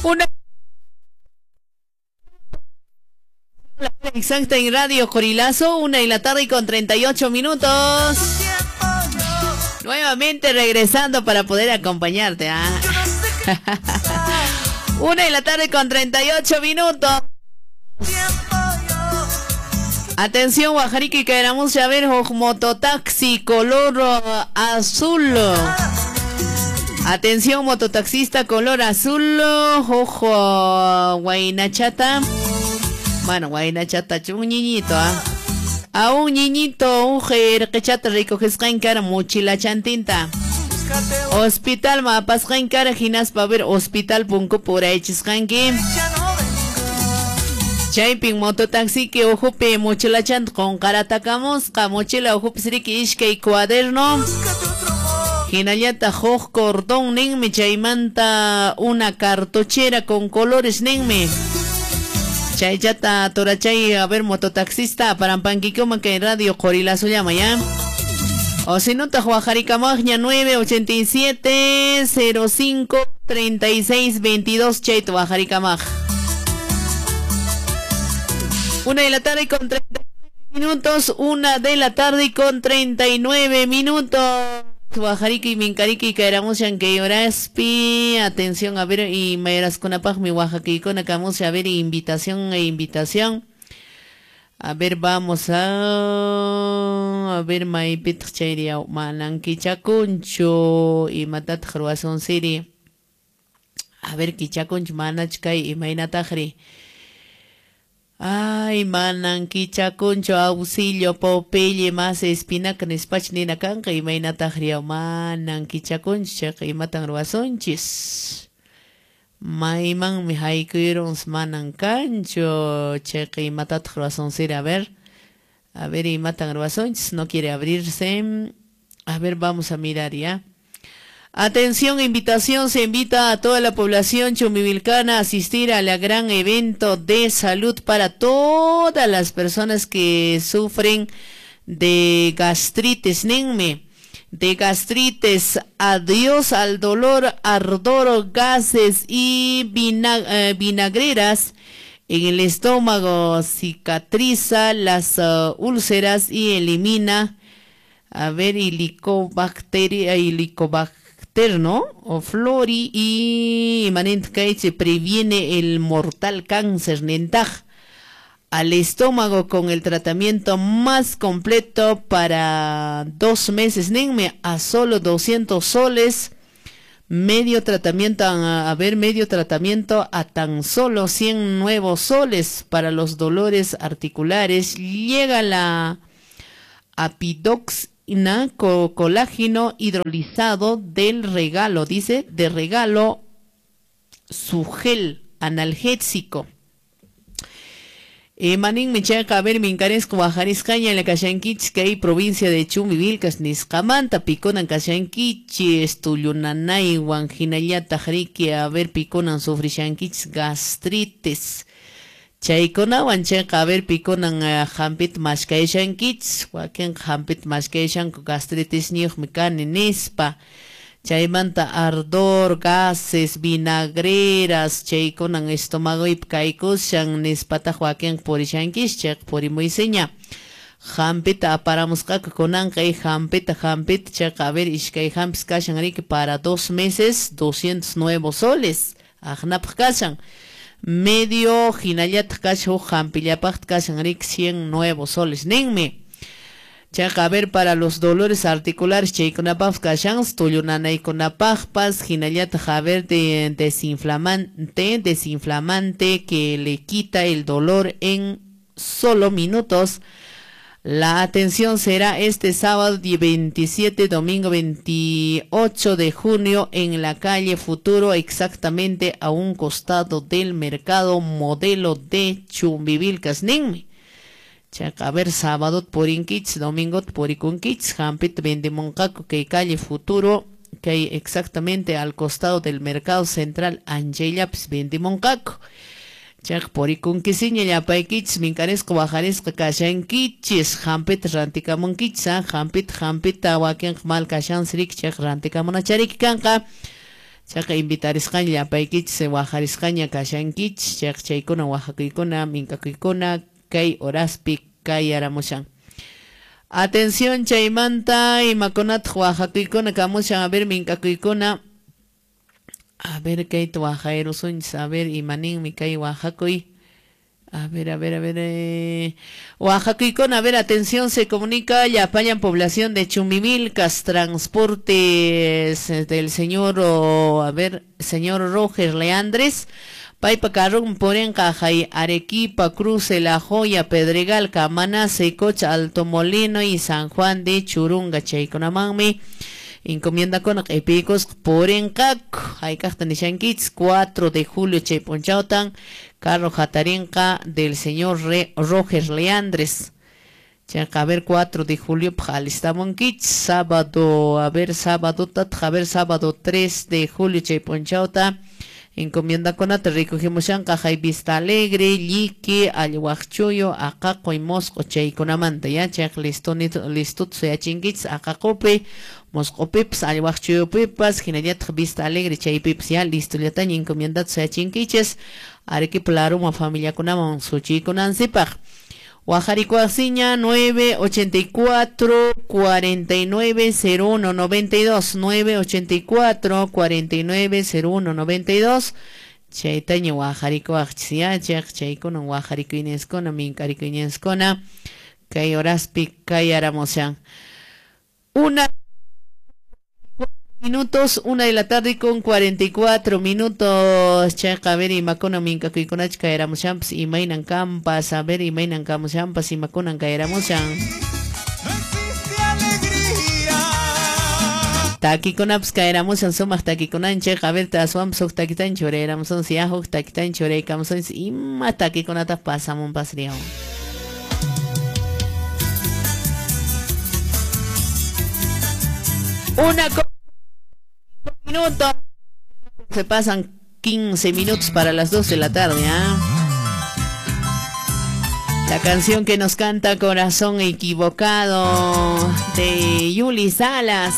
Una exacta en Radio Qorilazo, 1:38 p.m. Nuevamente regresando para poder acompañarte. ¿Ah? 1:38 p.m. Atención, Guajarique, queramos ya ver mototaxi color azul. Atención, mototaxista color azul, ojo, guainachata. Bueno, guainachata, un niñito, ¿ah? A un niñito, un jerquechata recoges cara, mochila chantinta. Hospital mapasqan cara, hinaspa ver hospital punku puraychisqanki. Chaypin mototaxi que ojupe mochila chant con karatakamusqa, mochila ojupe siriki ishkay cuaderno. Hinallata huk cordón ninmi, chaymanta una cartuchera con colores ninmi. Chaychata torachay, a ver mototaxista parampanquikuma que Radio Qorilazo llama ya. O si no, tajuajaricamagña 987 05 36 22 chayto bajaricamaj. 1:39 p.m, 1:39 p.m. Guajariki, Minkariki, Kairamushan, Keyoraspi. Atención, a ver, y Mayraskunapaj, mi Oaxaquicona, Camusia, a ver, invitación e invitación. A ver, vamos a ver, Maipit Chairia, Mananquichakuncho, y Matat Ruazón Siri. A ver, Kichakuncho, Manachkay, y Mainatajri. Ay, manan kichakuncho, auxilio, popeye, más espinaca, nespach, nina kanka, y mainatajria, manan kichakuncho, chaqa, y matan ruazonchis. Mayman mi haikuirons manan kancho, chaqa, y matat ruazoncir, a ver, y matan ruazonchis, no quiere abrirse. A ver, vamos a mirar ya. Atención, invitación, se invita a toda la población chumbivilcana a asistir a la gran evento de salud para todas las personas que sufren de gastritis, ninme, de gastritis, adiós al dolor, ardor, gases y vinagreras en el estómago, cicatriza las úlceras y elimina, a ver, helicobacteria, ¿no? O flori y se previene el mortal cáncer nentaj al estómago con el tratamiento más completo para 2 meses, nenme, a solo 200 soles, medio tratamiento, a ver, medio tratamiento a tan solo 100 nuevos soles para los dolores articulares. Llega la apidox colágeno hidrolizado del regalo, dice, de regalo su gel analgésico. Manin michaca, a ver, mincaresco, bajariscaña, la Kashankichis, que hay provincia de Chumbivilcas, Niscamanta, Piconan, Kashankichis, Tuyunanay, Huanjinayata, Jarique, a ver, Piconan, Sufrishankichis, gastritis. Chaykunawan chayqa, a ver, pikunan hampita mashkayshankichis, wakinqa hampita mashkayshanku gastritis niyuqmi kani nispa. Chaymanta ardor, gases, vinagreras, chaykunan estomagoypi kaykushan nispataq wakinqa purishankichis, chayqa purimuysiña. Hampita aparamusqaku kunanqa y hampita, chayqa, a ver, ishkay hampis kashan riki para 2 meses, 209 soles, aqnapaq kashan. Medio hinallataq kashan huk hampillapaqta kashan riki 100 nuevos soles ninmi. Chayqa, a ver, para los dolores articulares chaykunapaqpas kashan, tullunanaykunapaqpas, hinallataq, a ver, de desinflamante que le quita el dolor en solo minutos. La atención será este sábado 27, domingo 28 de junio en la calle Futuro, exactamente a un costado del mercado modelo de Chumbivilcas, ninmi. Chaqa, a ver, sábado purinkichis, domingo purikunkichis, hampita vendemonqaku que calle Futuro, que hay exactamente al costado del mercado central, anchayllapis vendemonqaku. Chaq purikunkisiña llapaykichis, minkarisqa wajarisqa kashankichis, hampita rantikamunkichis, hampita wakinqa mal kashansiriki, chaq rantikamunachariki kanqa. Chayqa invitarisqaña llapaykichis wajarisqaña kashankichis, chayqa chaykuna wajakuykuna minkakuykuna kay horaspi kayaramushan. Atención chaymanta imakunataq wajakuykuna kamushan, a ver minkakuykuna. A ver kayta wajayrusunchis, a ver imaninmi kay wajakuy. A ver, a ver, a ver. Oaxacuicona, a ver, atención, se comunica llapallan población de Chumbivilcas, transportes del señor, a ver, señor Roger Leandres, Paipa Carrón, Porenca, Jai, Arequipa, Cruce, La Joya, Pedregal, Camaná, Secocha, Alto Molino y San Juan de Churunga, Chayconamanmi. Encomienda con epicos porencac, haykaqta nishankichis 4 de julio chaypunchawtan carro jatarinqa del señor Roger Leandres. Chayqa a ver 4 de julio alistamunkichis sábado, a ver sábado a ver sábado 3 de julio chaypunchawta encomienda kunata recogimushanqa hay Vista Alegre, Lliqui, Allwaqchuyo, Aqaqo y Mosco chaykunamanta ya chayqa listo listo suyachinkichis Aqaqopi, Moscopipas, Allwaqchuyupipas, hinallataq Vista Alegre chaypipas ya listollataña encomiendata suyachinkichis Arequipa Laruma familiakunaman suchiykunansipaq. Wajarikuasiña 984 49 01 92 984 49 01 92 chaytaña wajarikuaqchis ya chayqa chaykunan wajarikuyninskuna minkarikuyninskuna kay horaspi kayaramushan. 1 minutos, 1 de la tarde con 44 minutos. Chayqa a ver imakuna minkakuykunachu kayaramushanpas imaynan kampas, a ver imaynan kamushanpas imakunan kayaramushan. Takikunapas kayaramushan sumaq takikunan chayqa a ver aswanpas huk takitan churayramusunchis ya huk takitan churaykamusunchis ima takikunata pasamunpas riyawan. Una minuto. Se pasan 15 minutos para las 2 de la tarde, ¿eh? La canción que nos canta Corazón Equivocado de Yuli Salas.